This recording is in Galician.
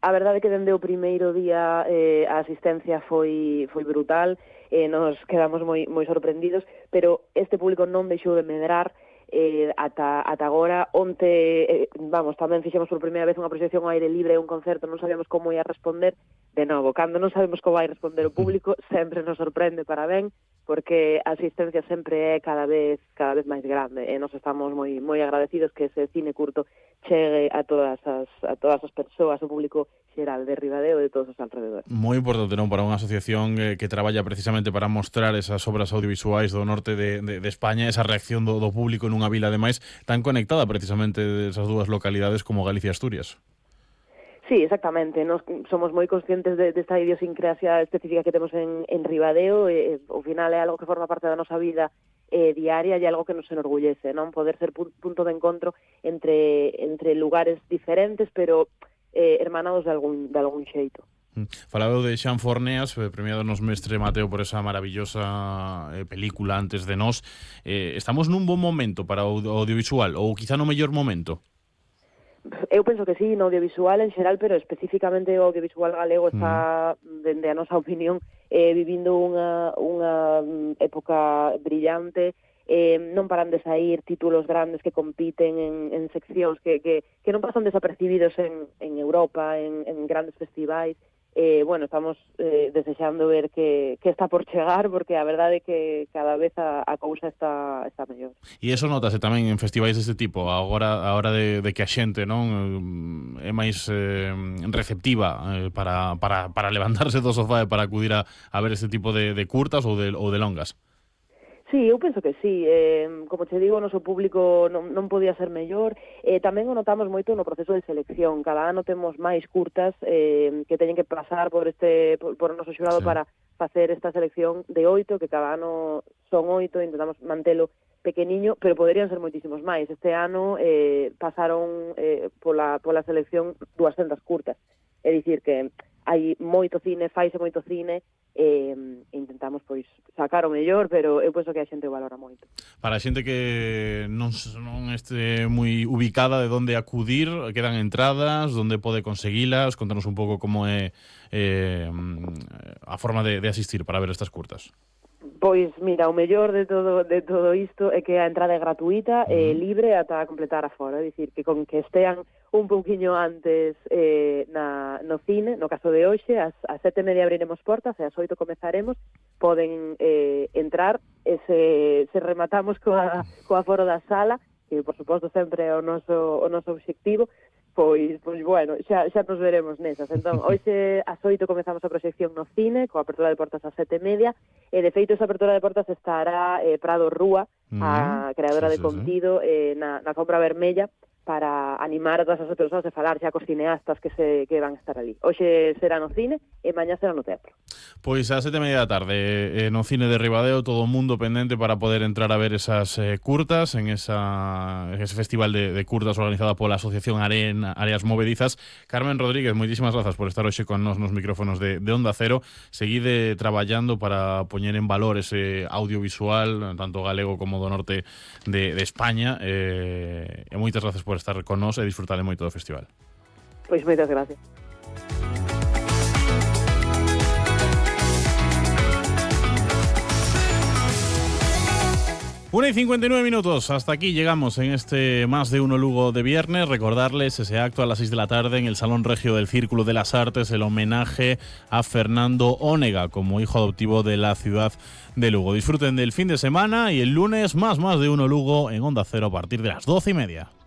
A verdade é que dende o primeiro día a asistencia foi brutal, nos quedamos moi sorprendidos, pero este público non deixou de medrar ata agora. Onte, tamén fixemos por primeira vez unha proxección ao aire libre, un concerto, non sabíamos como ia responder. De novo, cando non sabemos como vai responder o público, sempre nos sorprende para ben, porque a asistencia sempre é cada vez máis grande, e nos estamos moi agradecidos que ese cine curto chegue a todas as persoas, o público xeral de Ribadeo e de todos os alrededores. Moi importante, non, para unha asociación que traballa precisamente para mostrar esas obras audiovisuais do norte de España, esa reacción do público nunha vila, ademais, tan conectada precisamente desas dúas localidades como Galicia e Asturias. Sí, exactamente. Nos somos moi conscientes desta idiosincrasia específica que temos en Ribadeo, e ao final é algo que forma parte da nosa vida diaria e algo que nos enorgullece, non? Poder ser punto de encontro entre lugares diferentes, pero hermanados de algún xeito. Falaba de Xan Forneas, premiado nos Mestre Mateo por esa maravillosa película Antes de Nós. Estamos nun bon momento para o audiovisual, ou quizá no mellor momento? Eu penso que sí, no audiovisual en xeral, pero especificamente o audiovisual galego está, dende a nosa opinión, vivindo unha época brillante. Non paran de sair títulos grandes que compiten en seccións que non pasan desapercibidos en Europa, en grandes festivais. Estamos desexando ver que está por chegar, porque a verdade é que cada vez a cousa está mellor. E iso notase tamén en festivais deste tipo, a hora de que a xente non é máis receptiva para levantarse do sofá e para acudir a ver este tipo de curtas ou de longas. Sí, eu penso que sí. Como te digo, o noso público non podía ser mellor. Tamén o notamos moito no proceso de selección. Cada ano temos máis curtas que teñen que pasar por o noso xurado, sí, para facer esta selección de 8, que cada ano son 8, intentamos mantelo pequeniño, pero poderían ser moitísimos máis. Este ano pasaron pola selección 200 curtas. É dicir que hai moito cine, faise moito cine, intentamos pois sacar o mellor, pero eu penso que a xente o valora moito. Para a xente que non este moi ubicada de onde acudir, quedan entradas, onde pode conseguilas? Contanos un pouco como é a forma de asistir para ver estas curtas. Pois mira, o mellor de todo isto é que a entrada é gratuita e libre ata completar a fora, é dicir, que con que estean un pouquiño antes no cine, no caso de hoxe, ás 7:30 abriremos portas e ás 8 comezaremos, poden entrar e se rematamos coa foro da sala, que por suposto sempre é o noso obxectivo, pois bueno, xa nos veremos nesas. Entón, hoxe ás 8 comezamos a proxección no cine, coa apertura de portas ás 7:30, e de feito esa apertura de portas estará Prado Rúa, a creadora de contido, na alfombra vermella, para animar a todas as persoas e falar xa cos cineastas que van a estar ali. Hoxe será no cine e mañá será no teatro. Pois a 7:30 da tarde no cine de Ribadeo, todo o mundo pendente para poder entrar a ver esas curtas en ese festival de curtas organizada pola Asociación Áreas Movedizas. Carmen Rodríguez, moitísimas grazas por estar hoxe con nos micrófonos de Onda Cero. Seguide traballando para poñer en valor ese audiovisual, tanto galego como do norte de España, e moitas grazas por estar con nós e disfrutar moito do festival. Pois moitas gracias. Una y 59 minutos, hasta aquí llegamos en este Más de Uno Lugo de viernes. Recordarles ese acto a las 6 de la tarde en el Salón Regio del Círculo de las Artes, el homenaje a Fernando Ónega como hijo adoptivo de la ciudad de Lugo. Disfruten del fin de semana y el lunes más de Uno Lugo en Onda Cero a partir de las 12:30.